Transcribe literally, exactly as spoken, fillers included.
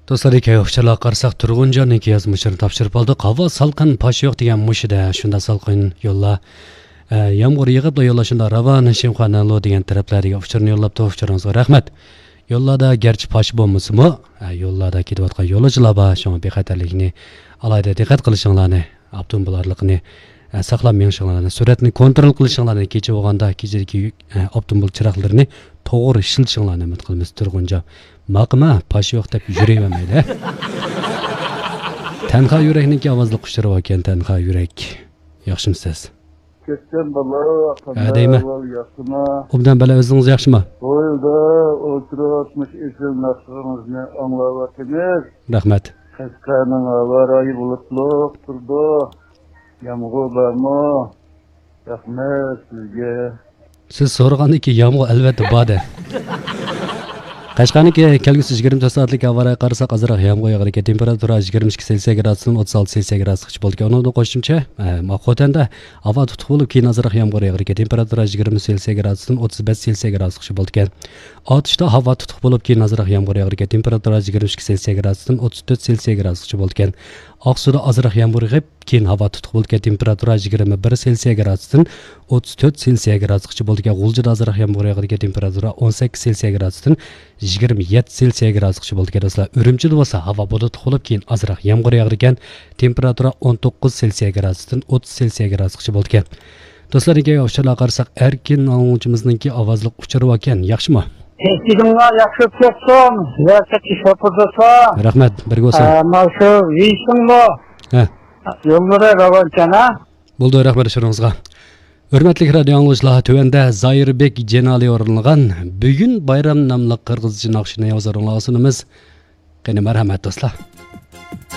دوستلار، كەينى ئۇچۇرلارغا قارىساق، تۇرغۇنجاننىڭ يازمىشىنى تاپشۇرۇپ ئالدۇق. ھاۋا سالقىن، پاش يوق دېگەن مۇشۇدە. شۇنداق سالقىن يوللار، ئە، يامغۇر يېغىپلا يوللار شۇنداق راۋان، شىنخۇا، نەنلۇ دېگەن تەرەپلەردىكى ئۇچۇرنى يوللاپتۇ. ئۇچۇرىڭىزغا رەھمەت. يوللاردا گەرچە پاش بولمىسىمۇ، ئە، يوللاردا كېتىۋاتقان يولۇچىلار بار. شۇڭا بىخەتەرلىكنى ئالاھىدە دىققەت قىلىشىڭلارنى، ئاپتوموبىل ئارىلىقىنى، ئە، ساقلاپ مېڭىشىڭلارنى، سۈرئەتنى كونترول قىلىشىڭلارنى، كېچە بولغاندا كېچىدىكى يۈك، ئە، ئاپتوموبىل چىراغلىرىنى توغرا ئىشلىتىشىڭلارنى ئۈمىد قىلىمىز. تۇرغۇنجان، ماقىما، پاش يوق دەپ يۈرۈۋەرمەيلى. تەنھا يۈرەكنىڭكى ئاۋازلىق ئۇچۇرى باركەن، تەنھا يۈرەك. ياخشىمۇسىز؟ كەتكەن بالا، ھە، قانداق دەيمەن. ئەھۋال، ياخشىمۇ؟ ئوبدان بالا، ئۆزىڭىز ياخشىمۇ؟ ھويلىدا ئولتۇرۇپ، مۇشۇ ئېسىل ناخشىڭىزنى ئاڭلاۋاتىمىز. رەھمەت. قەشقەرنىڭ ھاۋا رايى بۇلۇتلۇق تۇرىدۇ. يامغۇر بارمۇ؟ رەھمەت سىزگە. سىز سورىغاندىكى يامغۇر ئەلۋەتتە بار-دە. قەشقەرنىڭكى كەلگۈسى يىگىرمە تۆت سائەتلىك ھاۋا رايىغا قارىساق، ئازراق يامغۇر ياغىدىكەن. تېمپېراتۇرا يىگىرمە ئىككى سېلسىيە گرادۇستىن ئوتتۇز ئالتە سېلسىيە گرادۇسقىچە بولىدىكەن. ئۇنىڭدىن قوشۇمچە، ئە، خوتەندە ھاۋا تۇتۇق بولۇپ، كېيىن ئازراق يامغۇر ياغىدىكەن. تېمپېراتۇرا يىگىرمە سېلسىيە گرادۇستىن ئوتتۇز بەش سېلسىيە گرادۇسقىچە بولىدىكەن. ئاتۇشتا ھاۋا تۇتۇق بولۇپ، كېيىن ئازراق يامغۇر ياغىدىكەن. تېمپېراتۇرا يىگىرمە ئىككى سېلسىيە گرادۇستىن ئوتتۇز تۆت سېلسىيە گرادۇسقىچە بولىدىكەن. ئاقسۇدا ئازراق يامغۇر يېغىپ، كېيىن ھاۋا تۇتۇق بولىدىكەن. تېمپېراتۇرا يىگىرمە بىر سېلسىيە گرادۇستىن ئوتتۇز تۆت سېلسىيە گرادۇسقىچە بولىدىكەن. غۇلجىدا ئازراق يامغۇر ياغىدىكەن. تېمپېراتۇرا ئون سەككىز سېلسىيە گرادۇستىن يىگىرمە يەتتە سېلسىيە گرادۇسقىچە بولىدىكەن، دوستلار. ئۈرۈمچىدە بولسا ھاۋا بۇلۇتلۇق بولۇپ، كېيىن ئازراق يامغۇر ياغىدىكەن. تېمپېراتۇرا ئون توققۇز سېلسىيە گرادۇستىن ئوتتۇز سېلسىيە گرادۇسقىچە بولىدىكەن. دوستلار، كېيىنكى ئۇچۇرلارغا قارىساق، ئەركىن ئاڭلىغۇچىمىزنىڭكى ئاۋازلىق ئۇچۇرى باركەن، ياخشىمۇ؟ ئېسىڭلار ياخشى بولسۇن، ۋە چەككە شوپۇردىسا. رەھمەت، بىرگە بولسۇن. ئە، مانا شۇ ۋېيشىڭمۇ؟ ھە. يوللىرى راۋانكەن، ھە؟ بولدى، رەھمەت ئۇچۇرىڭىزغا. ھۆرمەتلىك رادىئو ئاڭلىغۇچىلار، تۆۋەندە زاھىربېك جېنالى ئورۇنلىغان بۈگۈن بايرام ناملىق قىرغىزچە ناخشىنى ھۇزۇرۇڭلارغا سۇنىمىز. قېنى، مەرھەمەت، دوستلار.